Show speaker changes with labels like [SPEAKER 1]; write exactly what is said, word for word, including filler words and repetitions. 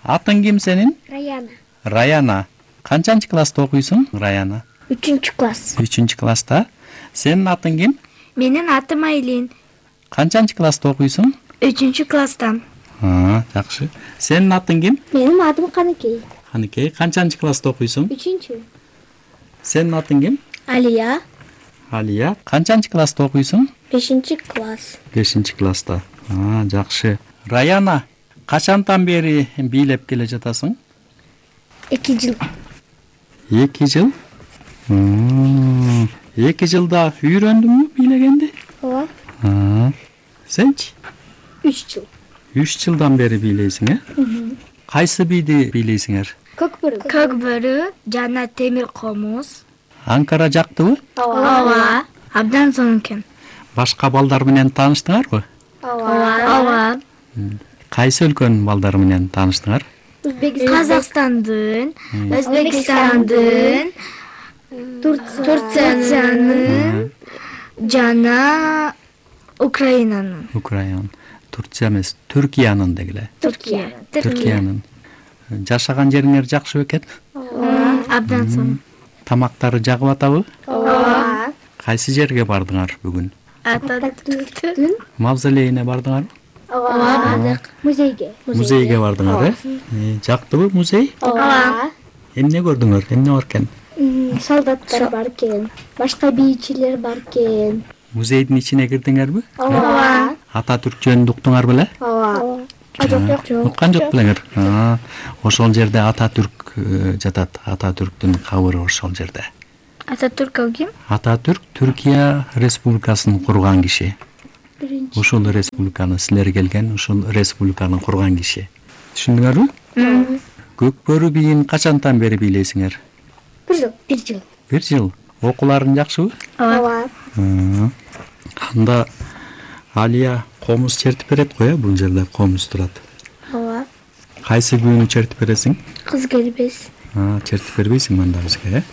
[SPEAKER 1] Атың ким сенин?
[SPEAKER 2] Раяна.
[SPEAKER 1] Раяна. Канчанчы класста окуйсуң, Раяна?
[SPEAKER 2] Үчүнчү класс.
[SPEAKER 1] Үчүнчү класста. Сенин атың ким?
[SPEAKER 3] Менин атым Айлин.
[SPEAKER 1] Канчанчы класста окуйсуң?
[SPEAKER 3] Үчүнчү класстан.
[SPEAKER 1] А, жакшы. Сенин атың ким?
[SPEAKER 2] Менин атым Каныкей.
[SPEAKER 1] Каныкей. Канчанчы класста окуйсуң?
[SPEAKER 2] Үчүнчү.
[SPEAKER 1] Сенин атың ким?
[SPEAKER 2] Алия.
[SPEAKER 1] Алия. Канчанчы класста окуйсуң?
[SPEAKER 2] Бешинчи класс.
[SPEAKER 1] Бешинчи класста. А, жакшы. Раяна, качантан бери бийлеп келе жатасың?
[SPEAKER 2] Эки жыл.
[SPEAKER 1] Эки жыл? Эки жылда үйрөндүңбү бийлегенди?
[SPEAKER 2] Ооба.
[SPEAKER 1] Сенчи?
[SPEAKER 2] Үч жыл.
[SPEAKER 1] Үч жылдан бери бийлейсиң, э? Кайсы бийди бийлейсиңер?
[SPEAKER 2] Көк бөрү.
[SPEAKER 3] Көк бөрү жана темир комуз.
[SPEAKER 1] Анкара жактыбы?
[SPEAKER 3] Ооба. Абдан сонун экен.
[SPEAKER 1] Башка балдар менен тааныштыңарбы?
[SPEAKER 2] Ооба.
[SPEAKER 3] Ооба.
[SPEAKER 1] Кайсы өлкөнүн балдары менен тааныштыңар?
[SPEAKER 3] Казакстандын, Өзбекстандын, Турциянын жана Украинанын.
[SPEAKER 1] Украина. Турция эмес, Түркиянын дегиле.
[SPEAKER 3] Түркия.
[SPEAKER 1] Түркиянын. Жашаган жериңер жакшы бекен?
[SPEAKER 3] Абдан сонун.
[SPEAKER 1] Тамактары жагып атабы?
[SPEAKER 3] Ооба.
[SPEAKER 1] Кайсы жерге бардыңар бүгүн?
[SPEAKER 3] Ататүрктүн
[SPEAKER 1] Мавзолейине бардыңарбы?
[SPEAKER 2] Ооба. Музейге.
[SPEAKER 1] Музейге бардыңар, э? Жактыбы музей?
[SPEAKER 3] Ооба.
[SPEAKER 1] Эмне көрдүңөр? Эмне бар экен?
[SPEAKER 2] Солдаттар бар экен. Башка бийчилер бар экен.
[SPEAKER 1] Музейдин ичине кирдиңерби?
[SPEAKER 2] Ооба.
[SPEAKER 1] Ататүрк жөнүндө уктуңар беле?
[SPEAKER 2] Ооба. Жок, жок.
[SPEAKER 1] Уккан жок белеңер? Ошол жерде Ататүрк жатат. Ататүрктүн кабыры ошол жерде.
[SPEAKER 3] Ататүрк ким?
[SPEAKER 1] Ататүрк Түркия республикасын курган киши.
[SPEAKER 2] Биринчи.
[SPEAKER 1] Ушул республиканы силер келген, ушул республиканы курган киши. Түшүндүңөрбү? Көк бөрү бийин качантан бери бийлейсиңер?
[SPEAKER 2] Бир жыл. Бир жыл.
[SPEAKER 1] Бир жыл. Окууларың жакшыбы?
[SPEAKER 2] Ооба.
[SPEAKER 1] Анда Алия комуз чертип берет го, э? Бул жерде комуз турат.
[SPEAKER 2] Ооба.
[SPEAKER 1] Кайсы күйүнү чертип бересиң?
[SPEAKER 2] Кыз келбес.
[SPEAKER 1] Чертип бербейсиң анда бизге, э?